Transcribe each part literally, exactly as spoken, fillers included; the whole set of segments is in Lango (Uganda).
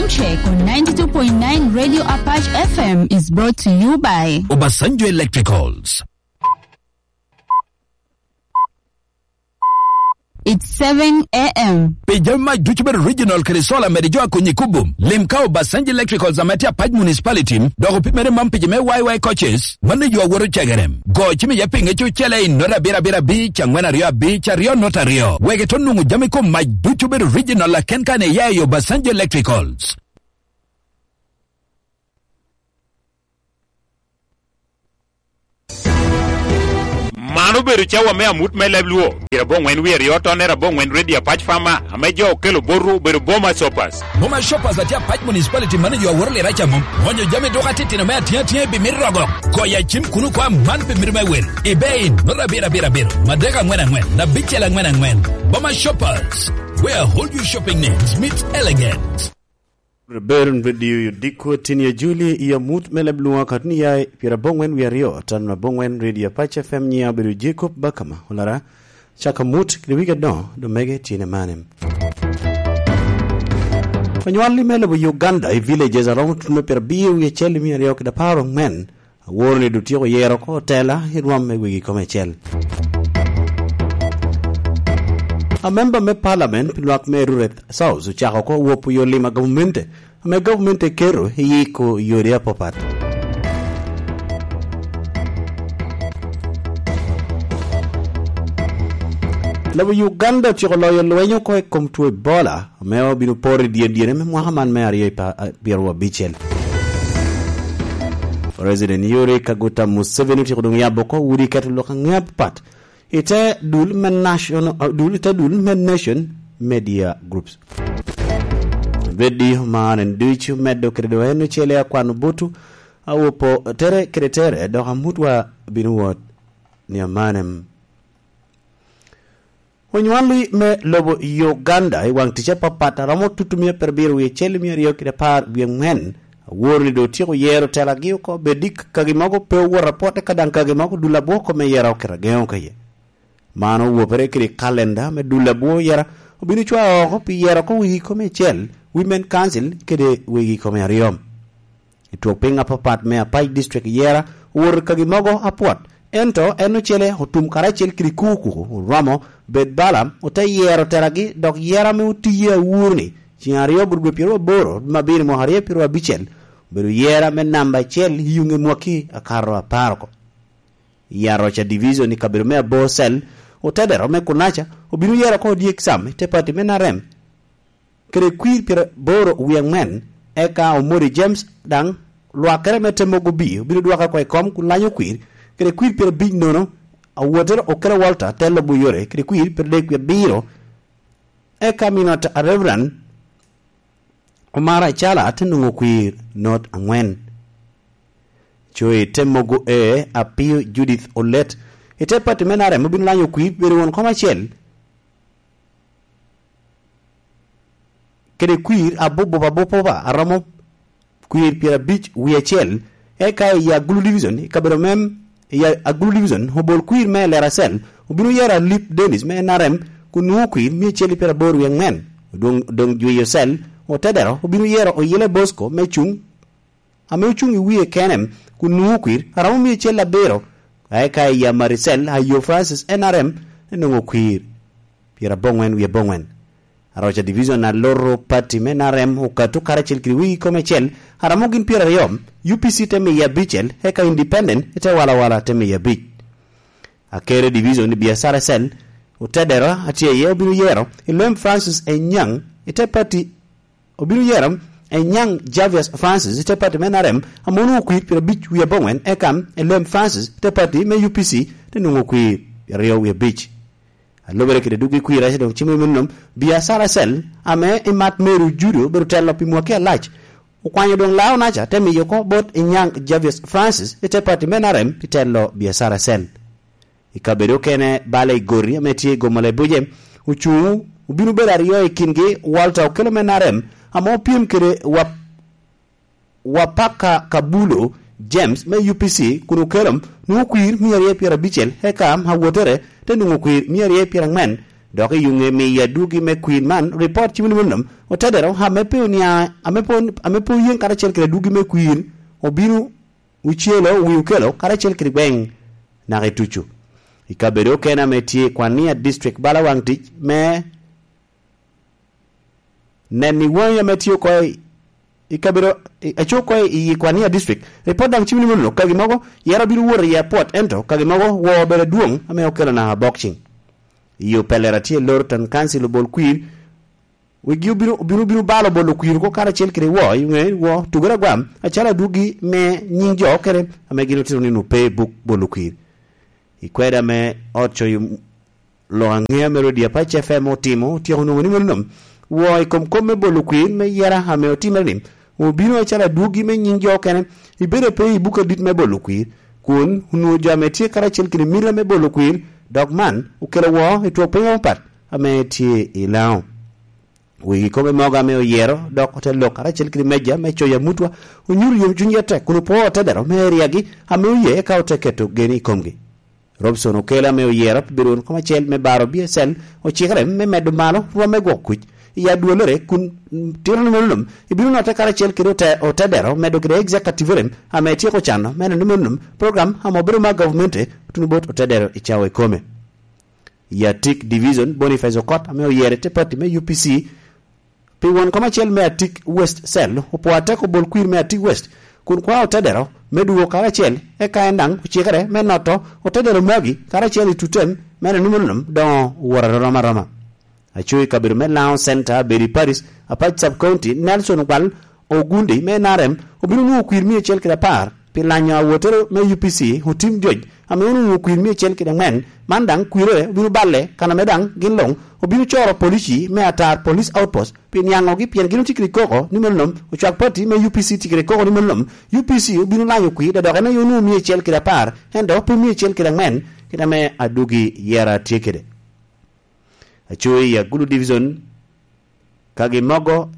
Check on ninety-two point nine Radio Apache F M is brought to you by Obasanjo Electricals. It's seven a m. Pi jami mac ducu bedo original kede solar mede jo a konyi kubo, lim ka Obasanjo Electricals ame tye Apac Municipality, dok opimere man pi jo me Y Y coaches, mano jo a woto cegere. Go cim iye pi ŋec ocele i nota abiro abiro abic, angwen aryo abic, aryo nota aryo. Wek ito nwoŋo jami kom mac ducu bedo original aken kan iya i Obasanjo Electricals. Man obedo cawa me amut me leb Luo, pira boŋwen wie aryo tonne aboŋwen Redio Apac Fama, ame jo okelo botwu obedo Boma Shoppers. Boma Shoppers atye Apac Municipality mano jo aworo lira camo. Onyo jami duka titino me atye atye bi mito rogo. Goya cim kuno kwa man pe mito me wel. Ibe in, nota abiro abiro abiro, madek angwen angwen, abicel angwen angwen. Boma Shoppers, where all your shopping needs meet elegant. Reverend Radio Yodiko Tinia Juli i amut me leb Luo katni ya pira boŋwen wie aryo, tan aboŋwen Radio Apac F M nya bedo Jacob Bakama, olara, caka mut kede wige no, do mege tine mane. Onywal i me lobo Uganda i villages aromo tuno pira biyo wie cel i mia aryo kede apar oŋwen, aworo ni dotyeko yero oko otela i rwom me wegi kome acel. Amemba me Parliament pi lwak me Rureth South ocako oko wopo yo lim a gavumenti, ame gavumenti eketo i yiko yodi apapat. Lobo Uganda ociko loyo lweny oko i kom two Ebola, ame obino poro i dyen dyene me mwaka man me aryo i pa-, a-, pyeraryo abicel. President Yoweri Kaguta Museveni otyeko doŋ yabo oko udi keto lok aŋe apapat i te dul me National, uh, dul, i te dul me Nation Media Groups. Radio man en ducu medde kede doŋ en ocele akwano butu, awopo tere kede tere, dok amutwa bino wot ni amanem. Onywali me lobo Uganda i waŋ tic apapat aromo tutu mia perabiro wie acel mia aryo kede apar wie aŋwen, aworo ni doŋ otyeko yero telagi oko, bed i kagi mogo pe owot apwot, eka daŋ kagi mogo dul abwoko me yero okete ageŋo keye. Man owopere kede kalenda me dul abwo yera, obino cwao oko pi yero oko wegi kome acel, Women Council kede wegi kome aryo. I twok piny apapat me Apac District yera owoto kagi mogo apwot, ento en ocele otum karacel kede kuku kuku, oromo bed bala, ote yero teragi, dok yera ame otiye awur ni, ceng aryo bur dwe pyeraryo aboro, dwe me abiro mwaka aryo pyeraryo abicel, obedo yera me namba acel i yuŋe mwaki akato apar oko. I Aroca Division i kabedo me Abor Cell, otedero me Kunaca obino yero oko Odyek Sam i te pati me N R M kede kwir pyeraboro wie aŋwen, eka Omori James daŋ lwakere me te mogo bi obino dwoke oko i kom kun lanyo kwir kede kwir pyerabic nono, Awotere Okelo Walter te lobo yore kede kwir pyeradek wie abiro, eka Minot a Reverend Omar Acala te nwoŋo kwir not aŋwen. Co i te mogo e Apio Judith Olet, i te pati me N R M obino lanyo kwir bedo won kom acel kede kwir abububa abububa aromo kwir pyerabic wie acel, eka i Agulu Division, i kabedo mem, i Agulu Division, obol kwir me Lera Cell, obino yero Alip Dennis me N R M, kun nwoŋo kwir mia acel i pyeraboro wie aŋwen. Odoŋ, odoŋ Jweyo Cell, otedero, obino yero Oyele Bosco me cuŋ, ame ocuŋ i wie kene, kun nwoŋo kwir, aromo mia acel abiro, eka i Amari Cell, Ayo Francis N R M, nwoŋo kwir pyeraboŋwen wie aboŋwen. Aroca Division a loro pati me N R M okato karacel kede wegi kome acel, a romo gin pyeraryo, U P C te miye abicel, eka Independent te walawala te miye abic. Akere Division i Biacara Cell, otedero a tye iye obino yero Elem Francis Enyaŋ i te pati, obino yero Enyaŋ Javius Francis i te pati me N R M, ame onwoŋo kwir pyerabic wie aboŋwen, eka Elem Francis i te pati me U P C te nwoŋo kwir pyeraryo wie abic. A lubere kede doggi kwir, aca doŋ cimo i meno, Biacara Cell, ame i mat Mary Ojudo obedo telo pi mwaki alac, okwanyo doŋ Laonaca te miyo oko bot Inyaŋ Javius Francis i te pati me N R M pi telo Biacara Cell. I kabedo okene, bala i Gori ame tye i Gomala i Buje, ocuŋ obino bedo aryo i kingi, Walter Okello me N R M, ame opyem kede Wap-, Wapaka Kabulo James me U P C, kun Okello nwoŋo kwir mia aryo pyerabicel, eka Awotere te nwoŋo kwir mia aryo pyeraŋwen, Dok i yuŋe miyo adwogi me kwir man ripot cimo ni mano otedero ame pe onia-, ame pe on-, ame pe oyeŋ karacel kede adwogi me kwir obino ocelo wi okelo karacel kede gweŋ naka i tucu. I kabedo okene ame tye i Kwania District bala waŋ tic me nen i waŋi ame tye oko i, i kabedo i, aco oko i Kwania District. Ripot daŋ cimo ni mano kagi mogo yero bino wot i airport, ento kagi mogo woo obedo adwoŋ ame okelo naka boxing. I opelera tye Lorton Council obol kwir, wigi obino, obino, obino balo bolo kwir oko karacel kede woo, i ŋe woo tugere agwam, acalo adwogi me nyiŋ jo okene ame gin otito ni ope i buk bolo kwir. I kweda me ot coyo lok aŋea me redio Apac F M otimo, otyeko nwoŋo ni mano nom woo i kom kop me bolo kwir me yera ame otimere ni, obino acalo adwogi me nyiŋ jo okene, ibedo pe i buk adit me bolo kwir, kun onwoŋo jo ame tye karacel kede mita me bolo kwir, dok man okelo woo i twok piny apapat ame tye i Laŋo. Wegi kome mogo ame oyero, dok ote lok karacel kede meja me coyo amutwa, onyuto yomcuny atek kun opwoo otedero me eriagi ame oye, eka ote keto geni i komgi. Robson Okelo ame oyero pi bedo won kom acel me baro B S L ocikere me medo malo rwom me gwoko kuc i adwolere, kun tito ni meno nom ibino notte karacel kede ote-, otedero medo kede executive rem ame etyeko cano me neno ni meno nom program ame obedo mar gavumenti otuno bot otedero i cawa ikome. I Atik Division, Boniface Okot ame oyero i te pati me U P C pi won kom acel me Atik West Cell opwoo atek obol kwir me Atik West, kun kwao otedero me dwogo karacel, eka en daŋ ocikere me noto otedero magi karacel i tutem me neno ni meno nom doŋo owot arom aroma. Aco i kabedo me Laŋo Center, Bedi Paris, Apac Sub County, Nelson Ogwal Ogundi me N R M obino nwoŋo kwir mia acel kede apar pi lanyo awotere me U P C Otim Joc, ame onwoŋo kwir mia acel kede aŋwen. Man daŋ kwirre obino balle kan ame daŋ gin luŋ obino coro polici me Atar Police Outpost pi niaŋogi, pien gin otye kede koko ni meno nom ocwak pati me U P C tye kede koko ni meno nom U P C obino lanyo kwir, dok en aye onwoŋo mia acel kede apar, ento pe mia acel kede aŋwen, kit ame adwogi yera tye kede. Aco i Agulu Division, kagi mogo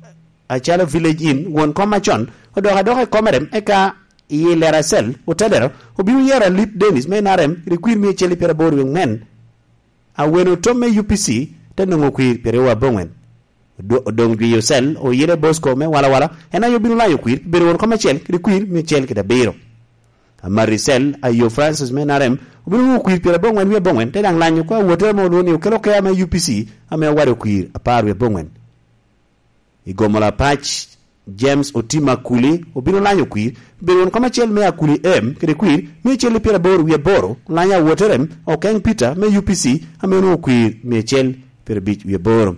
acalo Village Inn, won kom acon, odok adoka i kome rem, eka i Lera Cell, otedero, obino yero Alip Dennis me N R M kede kwir mia acel i pyeraboro wie aŋwen. Awene otom me U P C te nwoŋo kwir pyeraryo aboŋwen. Odo-, odoŋ jwi Ocel, Oyele Bosco me Walawala, en aye obino lanyo kwir pi bedo won kom acel kede kwir mia acel kede abiro. Amari Cel, Ayo Francis me N R M obino nwoŋo kwir pyeraboro aŋwen wie aboŋwen, te daŋ lanyo oko awotere ame olwoŋo ni Okelo Kea me U P C ame owado kwir apar wie aboŋwen. I Gomola Apac, James Otim Akuli obino lanyo kwir pi bedo won kom acel me Akuli M kede kwir mia acel i pyeraboro wie aboro, lanyo awotere Okeng Peter me U P C ame onwoŋo kwir mia acel pyerabic wie aboro.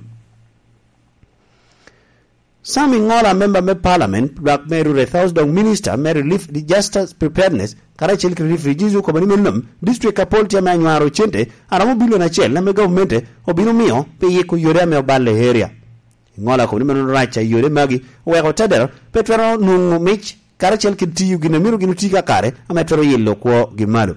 Sam Iŋola, member me Parliament, lwak me Rurethous, dok Minister me Relief Disaster Preparedness, karacel kede Refugees, okobo ni meno nom, district apol tye ame anywaro cente aromo bilion acel ame gavumenti obino mio pi yiko yore ame oballe i area. Iŋola okobo ni meno rac a yore magi oweko otedero pe twero nwoŋo mic karacel kede tiyo gin a myero gin oti kakare ame twero yilo kwogi malo.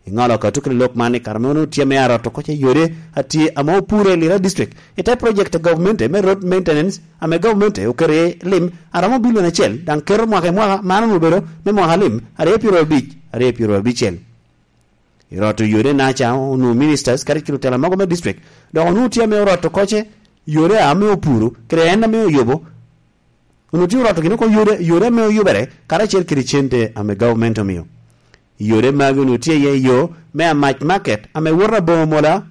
Iŋola okato kede lok man i kare ame onwoŋo tye ame arot oko ce yode atye ame opure i Lira District i te project a gavumenti me road maintenance ame gavumenti oketo iye lim aromo bilion acel, daŋ keto mwaka i mwaka, man onwoŋo obedo me mwaka lim aryo pyeraryo abic, aryo pyeraryo abicel. I roto yode naca onwoŋo ministers kadi kede otela mogo me district, dok onwoŋo tye ame orot oko ce yode ame opuro kede en ame oyubo, onwoŋo tye oroto gin oko yode, yode ame oyubere karacel kede cente ame gavumenti omio. I yode magi onwoŋo tye iye yo me Amac Market ame woto aboŋo mola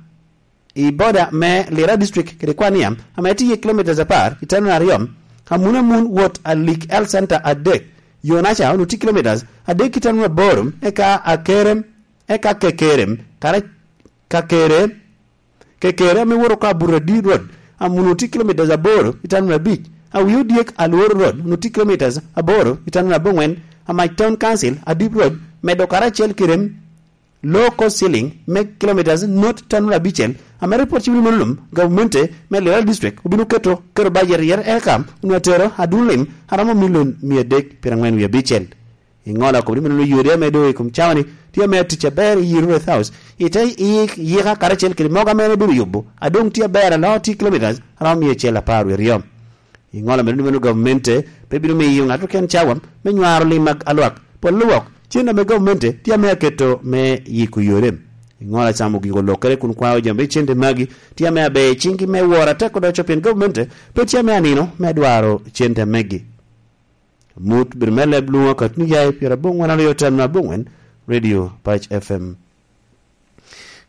i boda me Lira District kede Kwaniam ame tye iye kilomitas apar i tanun aryo, amun amun wot Alik Health Center adek, yo naca onwoŋo tye kilomitas adek i tanun aboro, eka Akerem, eka Kekerem, kara-, Kakere, Kekere ame woto oko Aburadi Road, amun otye kilomitas aboro i tanun abic. Awi Odyek Alwor Road, onwoŋo tye kilomitas aboro i tanun aboŋwen. Amac Town Council, Adip Road, medo karacel kede low cost ceiling me kilomitas not tanun abicel. Ame ripot cimo ni mano lum, gavumenti me Lira District obino keto, keto bajet i yere eka onwoŋo atero adun lim aromo milion mia adek pyeraŋwen wie abicel. Iŋola okobo ni meno yode ame doŋ i kom cawa-ni tye ame atic aber i Rurethous, i te yik-, yika karacel kede mogo ame en ebedo yubo, a doŋ tye aber aloo tye kilomitas aromo mia acel apar wie aryo. Iŋola omedo ni meno gavumenti pe bino miyo ŋat oken cawa me nywaro lim ag-, alwak, pol lwok, cen ame gavumenti tye ame aketo me yiko yode. Ŋola camo giko lokere kun kwao jami cente magi, tye ame aber i ciŋgi me woro atek odoco pien gavumenti pe tye ame anino me dwaro cente megi. Mut bedo me leb lwoŋo akatni yaye pyerabongwen aryo tam na abongwen, Radio Pac F M.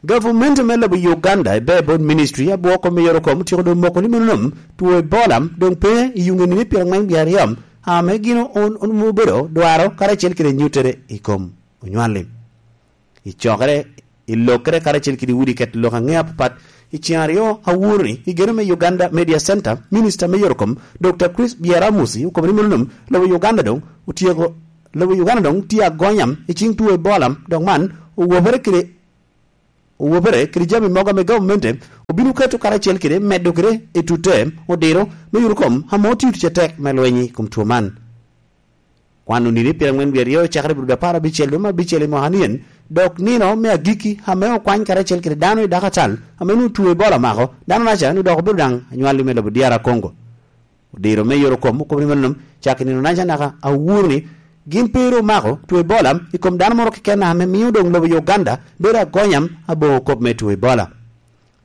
Gavumenti me lobo Uganda i Barebone Ministry abwoko me yero kom otyeko doŋ moko ni meno nom two Ebola doŋ pe i yuŋe nino pyerangwen wie aryo, ame gin on, on obedo dwaro karacel kede nyutere i kom onywal-li. I cokere, i lokere karacel kede udi ket lok aŋe apapat, i ceŋ aryo awuro-ni, i geno me Uganda Media Center, Minista me yero kom, Doctor Chris Byaramusi okobo ni meno nom lobo Uganda doŋ otyeko, lobo Uganda doŋ tye agonyam i ciŋ two Ebola, dok man owobere kede, owobere kede jami mogo ame gavumenti obino keto karacel kede medo kede i tutte odiro me yero kom ame otio tic atek me lweny i kom two man. Kwan onini pyerangwen wie aryo cakere i Budo apar abicel dwe me abicel i mwaka nien, dok nino me agikki ame okwany karacel kede dano i dako atal ame onwoŋo two Ebola omako, dano-naca ni dok obedo daŋ anywalli me lobo D R Congo. Odiro me yero kom okobo ni meno nom cak i nino-naca naka awuro ni gin pe ru omako two Ebola i kom dano moro keken ame mio doŋ lobo Uganda bedo agonyam aboŋo kop me two Ebola.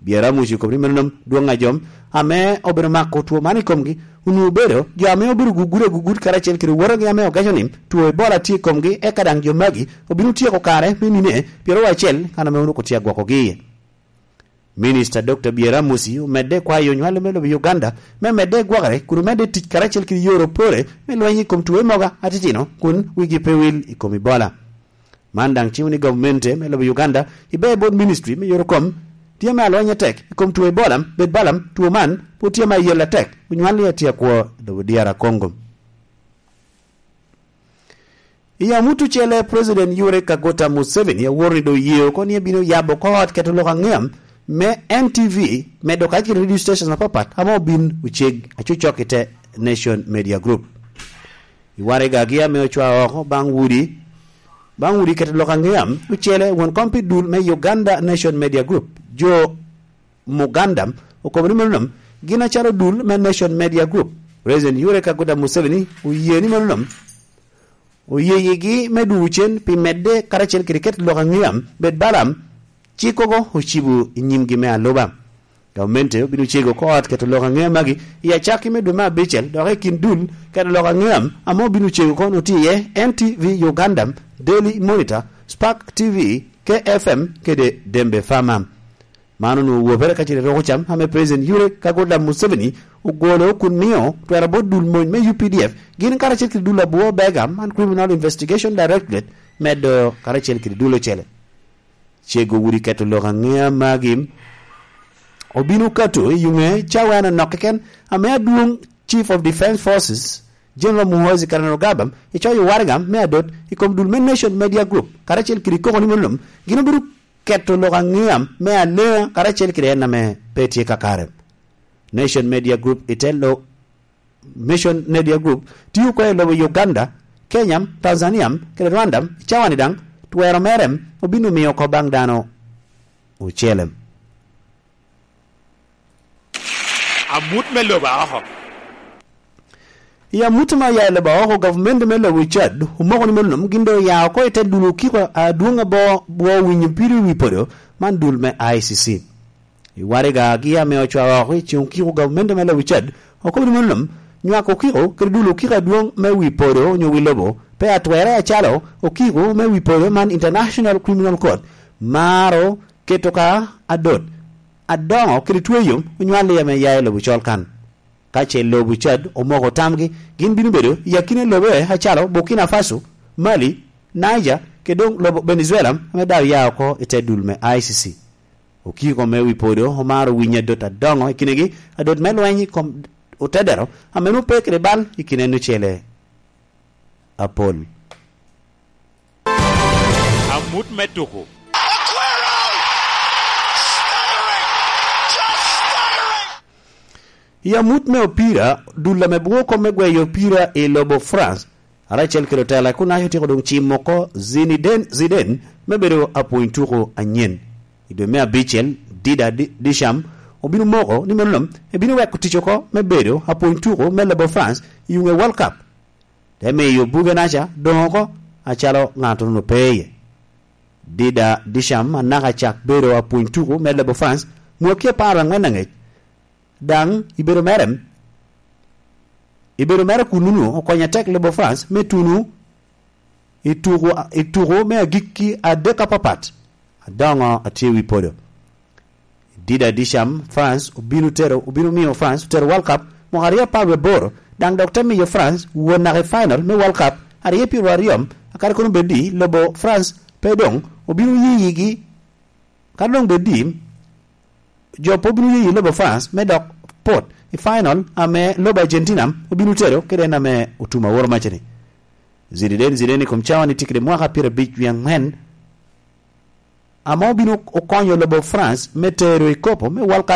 Byaramusi okobo ni meno nom dwoŋ a jo ame obedo mako two man i komgi onwoŋo obedo jo ame obedo gugudo agugut karacel kede owotogi ame ogeco ni two Ebola tye i komgi, eka daŋ jo magi obino tyeko kare me nine pyeraryo acel kan ame onwoŋo tye agwokogi iye. Minista Doctor Byaramusi omedde kwayo onywale me lobo Uganda me medde gwokere kun omedde tic karacel kede yore opore me lweny i kom two mogo atitino kun wigi pe wil i kom Ebola. Man daŋ ciwo ni gavumenti me lobo Uganda i Barebone Ministry me yero kom tye me alweny atek i kom two Ebola, bed balam two man pwod tye me ayel atek, onywal ni atye akwo i lobo D R Congo. I amut ocele, President Yoweri Kaguta Museveni aworo ni doŋ oye oko ni ebino yabo oko ot keto lok aŋea me N T V, medo kacel kede radio stations apapat ame obin oceg acocok i te Nation Media Group. I waragagi ame ocwao oko baŋ udi, baŋ udi keto lok aŋea ocele, won kom pi dul me Uganda Nation Media Group, Joe Muganda, okobo ni meno nom gin acalo dul me Nation Media Group, President Yoweri Kaguta Museveni oye ni meno nom oye yigi me dwogo cen pi medde karacel kede keto lok aŋea bed balam cikogo ocibo i nyimgi me aluba. Gamente obino cego oko ot keto lok aŋea magi i acakki me dwe me abicel, dok i kin dul keto lok aŋea ame obino cego oko onwoŋo tye iye N T V Uganda, Daily Monitor, Spark T V, K F M kede Dembe Farmer. Man onwoŋo wobere ka cito i roko cam ame President Yoweri Kaguta Museveni ogolo kun mio twero bot dul mony me U P D F gin karacel kede dul abwo bega man Criminal Investigation Directorate medo karacel kede dul ocele. Cego udi keto lok aŋea magi obino kato i yuŋe cawa en anok keken ame adwoŋ Chief of Defence Forces General Muhoozi Kainerugaba icoyo waraga me adot i kom dul me Nation Media Group karacel kede koko ni meno nom gin obino keto lok aŋea me aleŋa karacel kede en ame pe tye kakare. Nation Media Group i te lo-, Nation Media Group tio oko i lobo Uganda, Kenya, Tanzania, kede Rwanda, i cawa-ni daŋ twero mere obino miyo oko baŋ dano ocele. Amut me lobo aoko. I amut me oya i lobo aoko, gavumenti me lobo Chad omoko ni meno nom gin doŋ oya oko i te dul okiko adwoŋ abo bwo winyo pido i wi podo man dul me I C C. I warigagi ame ocwao oko i ceŋ okiko gavumenti me lobo Chad okobo ni meno nom nywako okiko kede dul okiko adwoŋ me wi podo onyo wi lobo pe atwere acalo okiko me wi podo man International Criminal Court maro keto ka adot adoŋo kede tweyo onywal iye ame ya i lobo col kan. Ka ce lobo Chad omoko tamgi, gin bino bedo i akina lobe acalo Burkina Faso, Mali, Niger, kede doŋ lobo Venezuela ame daŋ oya oko i te dul me I C C. Okiko me wi podo omaro winyo adot adoŋo i kinegi, adot me lweny i kom otedero ame nwoŋo pe kede bal i kine en ocele apol. Amut me tuko. I amut me opira, dul ame bwoko me gweyo opira i lobo France, karacel kede otela kun aco tyeko doŋ cimo oko Zinedine Zidane me bedo apwony tuko anyen. I dwe me abicel, Dida Di-, Disham obino moko ni meno nom ebino weko tic oko me bedo apwony tuko me lobo France i yuŋe World Cup. Te miyo buge-naca doŋ oko acalo ŋat onwoŋo pe iye. Dida Disham anaka cak bedo apwony tuku me lobo France mwaki apar angwen angec. Daŋ i bedo mere, i bedo mere kununu okonyo atek lobo France me tuno i tuku, i tuku me agikki adek apapat. Adoŋo atye wi podo. Dida Disham, France obino tero, obino miyo France otero World Cup mwaka aryo apar wie aboro, daŋ dok te miyo France won naka i final me World Cup aryo pyeraryo, akadi kono bed ni lobo France pe doŋ obino yiyigi. Kadi doŋ bed ni jo pe obino yeyi lobo France me dok pot i final ame lobo Argentina obino tero kede en ame otum aworo macani. Zidane, Zidane i kom cawa ni tye kede mwaka pyerabic wie angwen, ame obino okonyo lobo France me tero i kopo me World Cup